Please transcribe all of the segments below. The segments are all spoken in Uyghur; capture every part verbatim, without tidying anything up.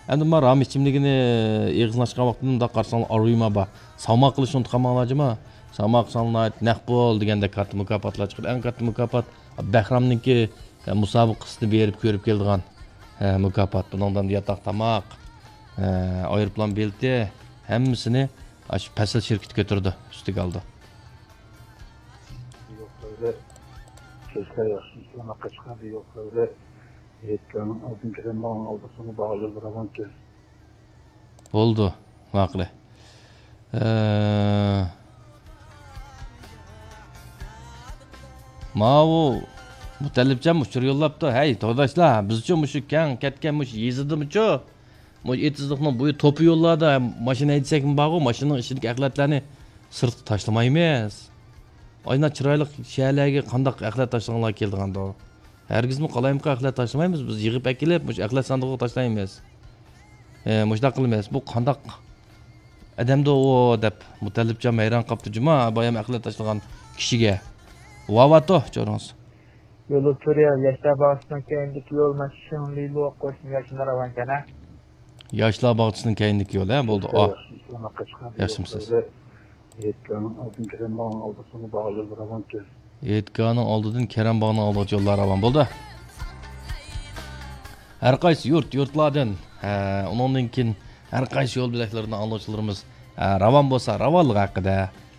ئەمدى ما رام ئىچىملىكىنى ئېغىزلاشقان ۋاقتىدا مۇنداق قارىساڭلار، ئاروما بار. ساما قىلىشنى ئۇنتۇپ قالماڭلار جۇما. ساما قىلساڭلار ناھايىتى نەق بول دېگەندەك كاتتا مۇكاپاتلار چىقىدۇ. ئەڭ كاتتا مۇكاپات بەھرامنىڭكى، ئە، مۇسابىقىسىنى بېرىپ كۆرۈپ كېلىدىغان، ئە، مۇكاپات. بۇنىڭدا ياتاق تاماق، ئە، ئايروپىلان بېلىتى، ھەممىسىنى ئاشۇ پەسىل شىركىتى كۆتۈرىدۇ، ئۈستىگە ئالىدۇ. يوق، ئۆيدە سۆزلەر ياخشى، ئىسلام ھەققە چىقاردى، يوق، ئۆيدە يەتكەننىڭ ئالدىن كىرەم باغنىڭ ئالدىسىنى باغلىرى بىراۋانكەن. بولدى، ماقۇل. ئە، ماۋۇ مۇتەللىپجان ئۇچۇر يوللاپتۇ. ھەي، تورداشلار، بىزچۇ مۇشۇ كەڭ كەتكەن مۇشۇ يېزىدىمۇچۇ؟ مۇشۇ ئېتىزلىقنىڭ بويى توپا يوللاردا ماشىنا ھەيدىسەكمۇ بارغۇ، ماشىنىنىڭ ئىچىدىكى ئەخلەتلەرنى سىرتقا تاشلىمايمىز. ئاينا چىرايلىق شەھەرلەرگە قانداق ئەخلەت تاشلىغانلار كېلىدىغاندۇ؟ ھەرگىزمۇ قالايمىقان ئەخلەت تاشلىمايمىز، بىز يىغىپ ئەكېلىپ، مۇشۇ ئەخلەت ساندۇقىغا تاشلايمىز. ئە، مۇشۇنداق قىلىمىز. بۇ قانداق ئادەمدۇ ئۇ دەپ مۇتەللىپجان ھەيران قاپتۇ جۇما، بايام ئەخلەت تاشلىغان كىشىگە. ۋاۋاتو، چورۇڭىز. يولى تۈرى ياشلار باغچىسىنىڭ كەينىدىكى يول، مانا شىڭلىلۇ قوشنا ياشلار راۋانكەن ھە. ياشلار باغچىسىنىڭ كەينىدىكى يول ھە، بولدى. ئا، ياخشىمۇ سىز؟ ھېيتگاھنىڭ ئالدىدىن كېرەم باغنىڭ ئالدىغىچە يوللار راۋانكەن. ھېيتگاھنىڭ ئالدىدىن كېرەم باغنىڭ ئالدىغىچە يوللار راۋان بولدى. ھەر قايسى يۇرت، يۇرتلاردىن، ھە، ئۇنىڭدىن كېيىن ھەر قايسى يول بۆلەكلىرىدىن ئاڭلىغۇچىلىرىمىز، ھە، راۋان بولسا راۋانلىقى ھەققىدە،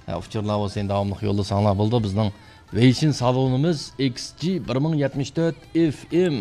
ھە، ئۇچۇرلار بولسا يەنە داۋاملىق يوللىساڭلار بولدى. بىزنىڭ ۋېيشىن سالونىمىز ئېكس جى بىر مىڭ يەتمىش تۆت ئېف ئېم.